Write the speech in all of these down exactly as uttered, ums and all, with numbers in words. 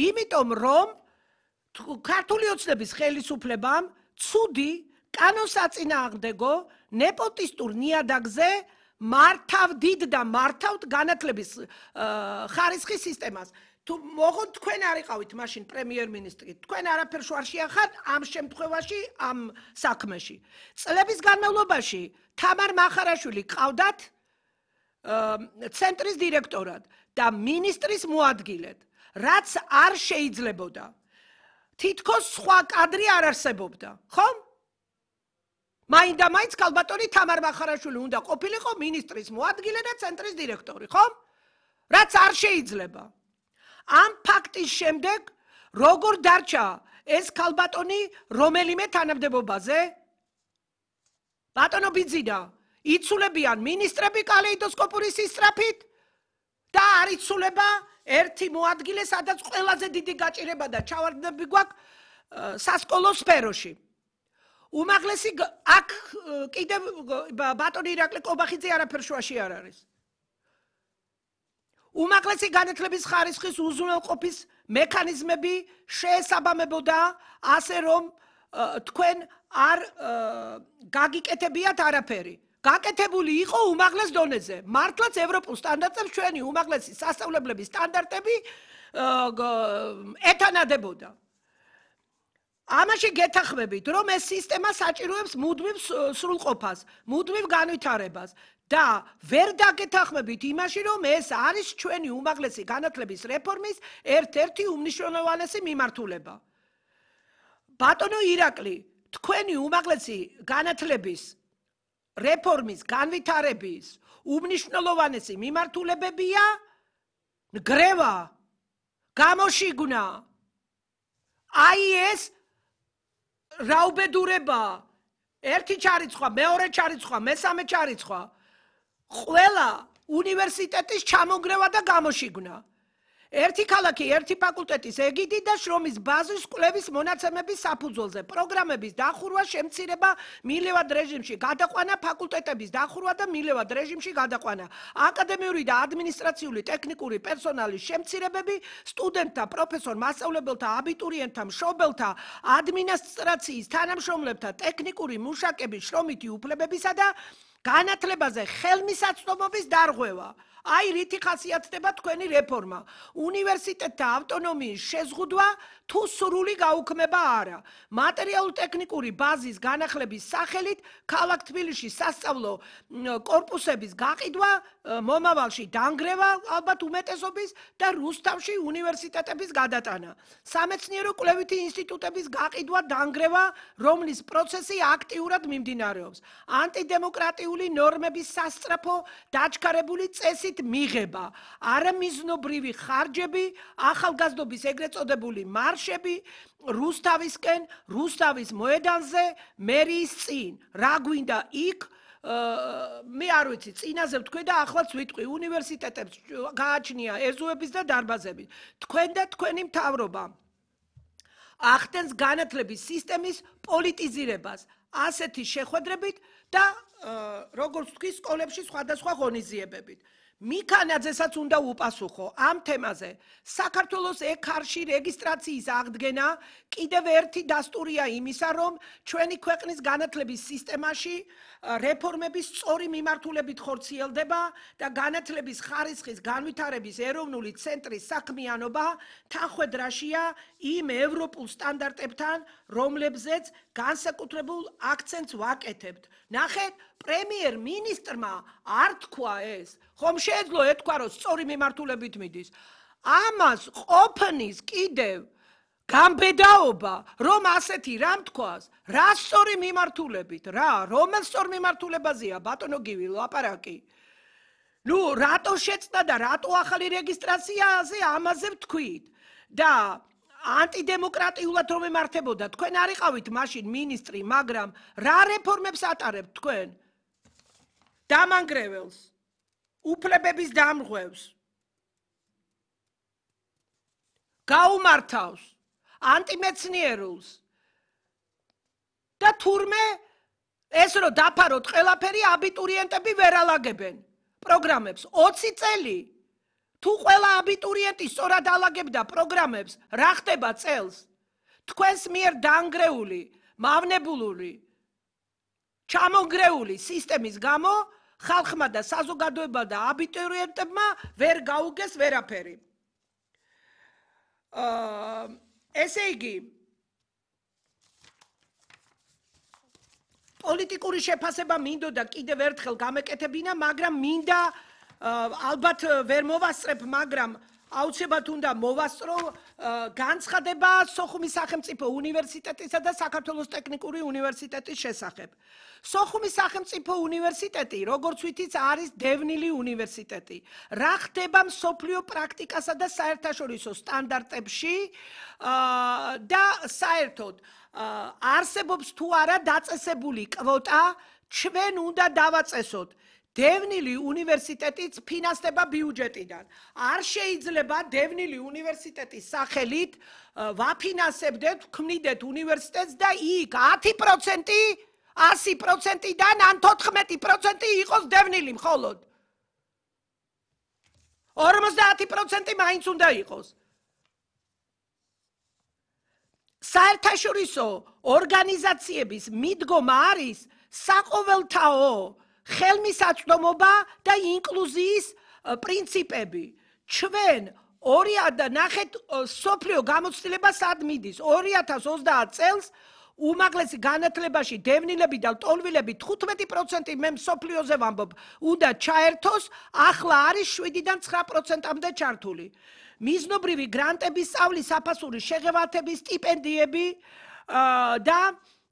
იმიტომ რომ ქართული ოცნების ხელისუფლებამ ცუდი კანონსაწინააღმდეგო ნეპოტისტურ ნიადაგზე მართავდით და მართავთ განათლების ხარისხის სისტემას. თუ მოხოთ თქვენ არ იყავით მაშინ პრემიერ-მინისტრი, თქვენ არაფერ შوار შეახართ ამ შემთხვევაში, ამ საქმეში. წლების განმავლობაში თამარ მახარაშვილი ყავდათ ცენტრის დირექტორად და მინისტრის მოადგილედ, რაც არ შეიძლებოდა. თითქოს სხვა კადრი არ არსებობდა, ხომ? მაინდა მაინც ქალბატონი თამარ მახარაშვილი უნდა ყოფილიყო მინისტრის მოადგილე და ცენტრის დირექტორი, ხომ? რაც არ შეიძლება. ამ ფაქტის შემდეგ როგორ დარჩა ეს ქალბატონი რომელიმე თანამდებობაზე? ბატონო ბიძინა, იცულებიან მინისტრები კალეიდოსკოპური სისწრაფით და არ იცულება ერთი მოადგილე, სადაც ყველაზე დიდი გაჭირება და ჩავარდნები გვაქვს სასკოლო სფეროში. უმაღლესი აქ კიდევ ბატონი ირაკლი კობახიძე არაფერ შუაში არ არის. უმაღლესი განათლების ხარისხის უზრუნველყოფის მექანიზმები შეესაბამებოდა ასე რომ თქვენ არ გაგიკეთებიათ არაფერი. გაკეთებული იყო უმაღლეს დონეზე. მართლაც ევროპულ სტანდარტებს ჩვენი უმაღლესი სასწავლებლების სტანდარტები ეთანადებოდა. ამაში გეთანხმებით, რომ ეს სისტემა საჭიროებს მუდმივ სრულყოფას, მუდმივ განვითარებას და ვერ დაგეთანხმებით იმაში, რომ ეს არის ჩვენი უმაღლესი განათლების რეფორმის ერთ-ერთი უმნიშვნელოვანესი მიმართულება. ბატონო ირაკლი, თქვენი უმაღლესი განათლების რეფორმის განვითარების უმნიშვნელოვანესი მიმართულებებია ნგრევა, გამოშიგნა, აი ეს რაუბედურება, ერთი ჩარიცხვა, მეორე ჩარიცხვა, მესამე ჩარიცხვა, ყველა უნივერსიტეტის ჩამონგრევა და გამოშიგნა. ერთი ქალაქი, ერთი ფაკულტეტის ეგიდით და შრომის ბაზის კვლევის მონაცემების საფუძველზე, პროგრამების დახურვა, შემცირება, მილევად რეჟიმში გადაყვანა, ფაკულტეტების დახურვა და მილევად რეჟიმში გადაყვანა, აკადემიური და ადმინისტრაციული ტექნიკური პერსონალის შემცირებები, სტუდენტთა, პროფესორ მასწავლებელთა, აბიტურიენტთა, მშობელთა, ადმინისტრაციის თანამშრომლებთა, ტექნიკური მუშაკების შრომითი უფლებებისა და განათლებაზე ხელმისაწვდომობის დარღვევა. აი რითი ხასიათდება თქვენი რეფორმა. უნივერსიტეტთა ავტონომიის შეზღუდვა თუ სრული გაუქმება არა. მატერიალურ-ტექნიკური ბაზის განახლების სახელით ქალაქ თბილისში სასწავლო კორპუსების გაყიდვა, მომავალში დანგრევა ალბათ უმეტესობის და რუსთავში უნივერსიტეტების გადატანა. სამეცნიერო კვლევითი ინსტიტუტების გაყიდვა, დანგრევა, რომლის პროცესი აქტიურად მიმდინარეობს. ანტიდემოკრატიული ნორმების სასწრაფო დაჩქარებული წესით მიღება, არამიზნობრივი ხარჯები, ახალგაზრდობის ეგრეთ წოდებული მარშები, რუსთავისკენ, რუსთავის მოედანზე, მერიის წინ, რა გვინდა იქ, მე არ ვიცი, წინაზე ვთქვი და ახლაც ვიტყვი, უნივერსიტეტებს გააჩნია ეზოების და დარბაზები. თქვენ და თქვენი მთავრობა ახდენს განათლების სისტემის პოლიტიზირებას, ასეთი შეხვედრებით და როგორც ვთქვი, სკოლებში სხვადასხვა ღონისძიებებით. მიქანაძესაც უნდა უპასუხო ამ თემაზე. საქართველოს ეკარში რეგისტრაციის აღდგენა კიდევ ერთი დასტურია იმისა, რომ ჩვენი ქვეყნის განათლების სისტემაში რეფორმების სწორი მიმართულებით ხორციელდება და განათლების ხარისხის განვითარების ეროვნული ცენტრის საქმიანობა თანხმედრაშია იმ ევროპულ სტანდარტებთან, რომლებზეც განსაკუთრებულ აქცენტს ვაკეთებთ. ნახეთ, პრემიერ-მინისტრმა არ თქვა ეს, ხომ შეეძლო ეთქვა, რომ სწორი მიმართულებით მიდის. ამას ყოფნის კიდევ გამბედაობა, რომ ასეთი რამ თქვას, რა სწორი მიმართულებით, რა, რომელ სწორ მიმართულებაზეა ბატონო გივი ლაპარაკი. ნუ, რატო შეცდა და რატო ახალი რეგისტრაციაზე ამაზე ვთქვით და ანტიდემოკრატიულად რომ ემართებოდა, თქვენ არ იყავით მაშინ მინისტრი, მაგრამ რა რეფორმებს ატარებთ თქვენ? დამანგრეველს, უფლებების დამრღვევს, გაუმართავს, ანტიმეცნიერულს და თურმე ეს რომ დაფაროთ ყველაფერი აბიტურიენტები ვერ ალაგებენ პროგრამებს. ოცი წელი თუ ყველა აბიტურიენტი სწორად ალაგებდა პროგრამებს, რა ხდება წელს? თქვენს მიერ დაანგრეული, მავნებულური, ჩამონგრეული სისტემის გამო ხალხმა და საზოგადოებამ და აბიტურიენტებმა ვერ გაუგეს ვერაფერი. აა ესე იგი პოლიტიკური შეფასება მინდოდა კიდევ ერთხელ გამეკეთებინა, მაგრამ მინდა ალბათ ვერ მოვასწრებ, მაგრამ აუცილებლად უნდა მოვასწრო განცხადება სოხუმის სახელმწიფო უნივერსიტეტისა და საქართველოს ტექნიკური უნივერსიტეტის შესახებ. სოხუმის სახელმწიფო უნივერსიტეტი, როგორც ვითით, არის დევნილი უნივერსიტეტი. რა ხდება მსოფლიო პრაქტიკასა და საერთაშორისო სტანდარტებში და საერთოდ არსებობს თუ არა დაწესებული კვოტა, ჩვენ უნდა დავაწესოთ. დევნილი უნივერსიტეტიც ფინანსდება ბიუჯეტიდან. არ შეიძლება დევნილი უნივერსიტეტის სახელით ვაფინანსებდეთ, ვქმნიდეთ უნივერსიტეტს და იქ ათი პროცენტი, ასი პროცენტიდან ან თოთხმეტი პროცენტი იყოს დევნილი მხოლოდ. ორმოცდაათი პროცენტი მაინც უნდა იყოს. საერთაშორისო ორგანიზაციების მიდგომა არის საყოველთაო ხელმისაწვდომობა და ინკლუზიის პრინციპები. ჩვენ ორი ნახეთ სოფლიო გამოცდილება სად მიდის. ორი ათას ოცდაათ წელს უმაღლესი განათლებაში დევნილები და ლტოლვილები თხუთმეტი პროცენტი მე სოფლიოზე ვამბობ, უნდა ჩაერთოს, ახლა არის შვიდიდან ცხრა პროცენტამდე ჩართული. მიზნობრივი გრანტების, სწავლის საფასური შეღებათების, სტიპენდიები და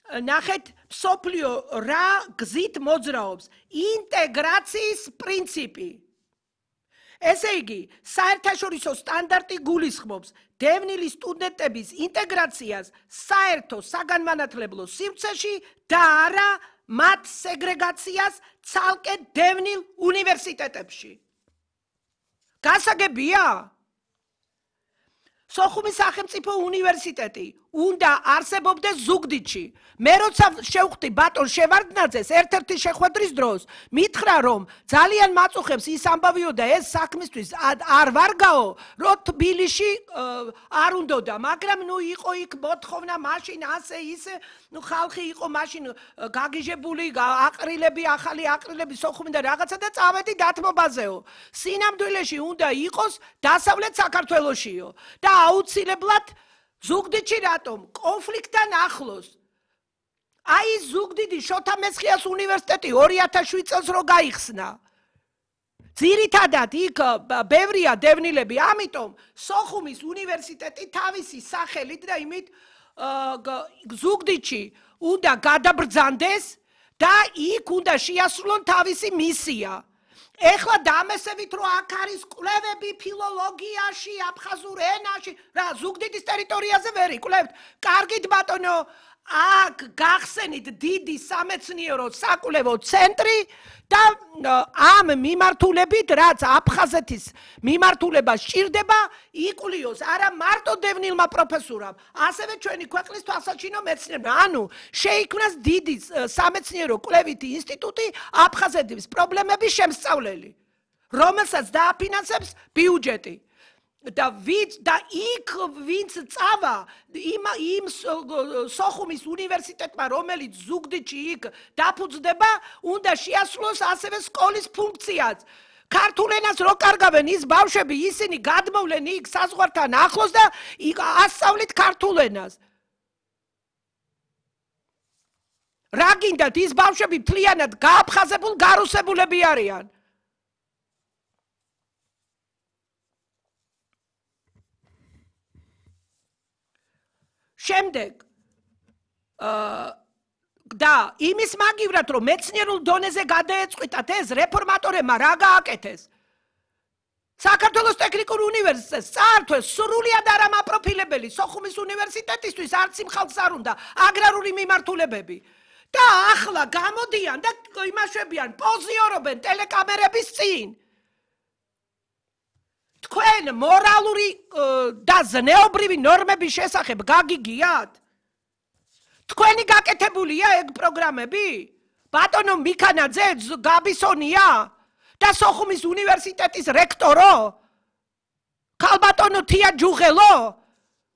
ნახეთ მსოფლიო რა გზით მოძრაობს ინტეგრაციის პრინციპი. ესე იგი, საერთაშორისო სტანდარტი გულისხმობს დევნილი სტუდენტების ინტეგრაციას საერთო საგანმანათლებლო სივრცეში და არა მათ სეგრეგაციას ცალკე დევნილ უნივერსიტეტებში. გასაგებია? სოხუმის სახელმწიფო უნივერსიტეტი უნდა არსებობდეს ზუგდიდში. მე როცა შევხვდი ბატონ შევარდნაძეს ერთ-ერთი შეხვედრის დროს, მითხრა რომ ძალიან მაწუხებს ის ამბავიო და ეს საქმისთვის არ ვარ გაო, რომ თბილისში არ უნდოდა, მაგრამ ნუ იყო იქ მოთხოვნა მაშინ ასე ისე, ნუ ხალხი იყო მაშინ გაგიჟებული, აყრილები, ახალი აყრილები სოხუმი და რაღაცა და წავედი დათმობაზეო. სინამდვილეში უნდა იყოს დასავლეთ საქართველოშიო და აუცილებლად ზუგდიდში რატომ? კონფლიქტთან ახლოს. აი ზუგდიდი შოთა მესხიას უნივერსიტეტი ორი ათას შვიდ წელს რო გაიხსნა. ძირითადად იქ ბევრია დევნილები, ამიტომ სოხუმის უნივერსიტეტი თავისი სახელით და იმით ზუგდიდში უნდა გადაბრძანდეს და იქ უნდა შეასრულონ თავისი მისია. ეხლა დამესებით რომ აქ არის კვლევები ფილოლოგიაში, აფხაზურ ენაში, რა ზუგდიდის ტერიტორიაზე ვერ იკვლევთ? კარგით ბატონო, აქ გახსენით დიდი სამეცნიერო საკვლევო ცენტრი და ამ მიმართულებით, რაც აფხაზეთის მიმართულება სჭირდება, იკვლიოს არა მარტო დევნილმა პროფესორამ, ასევე ჩვენი ქვეყნის თვალსაჩინო მეცნიერებმა. ანუ შეიქმნას დიდი სამეცნიერო კვლევითი ინსტიტუტი აფხაზეთის პრობლემების შემსწავლელი, რომელსაც დააფინანსებს ბიუჯეტი. და ვიც და იქ ვინც წავა იმ იმ სოხუმის უნივერსიტეტმა, რომელიც ზუგდიდში იქ დაფუძნდება, უნდა შეასრულოს ასევე სკოლის ფუნქციაც. ქართულ ენას რო კარგავენ ის ბავშვები, ისინი გადმოვლენ იქ საზღვართან ახლოს და ასწავლით ქართულ ენას. რა გინდათ, ის ბავშვები მთლიანად გააფხაზებულ გარუსებულები არიან. შემდეგ და იმის მაგივრად რომ მეცნიერულ დონეზე გადაეწყვიტათ ეს რეფორმატორებმა რა გააკეთეს? საქართველოს ტექნიკურ უნივერსიტეტს წაართვეს სრულიად არამაპროფილებელი სოხუმის უნივერსიტეტისთვის არც იმ ხალხს არ უნდა აგრარული მიმართულებები. და ახლა გამოდიან და იმაშვებიან, პოზიორობენ ტელეკამერების წინ. თქვენ მორალური და ზნეობრივი ნორმების შესახებ გაგიგიათ? თქვენი გაკეთებულია ეგ პროგრამები? ბატონო მიქანაძე, გაბისონია და სოხუმის უნივერსიტეტის რექტორო? ქალბატონო თია ჯუღელო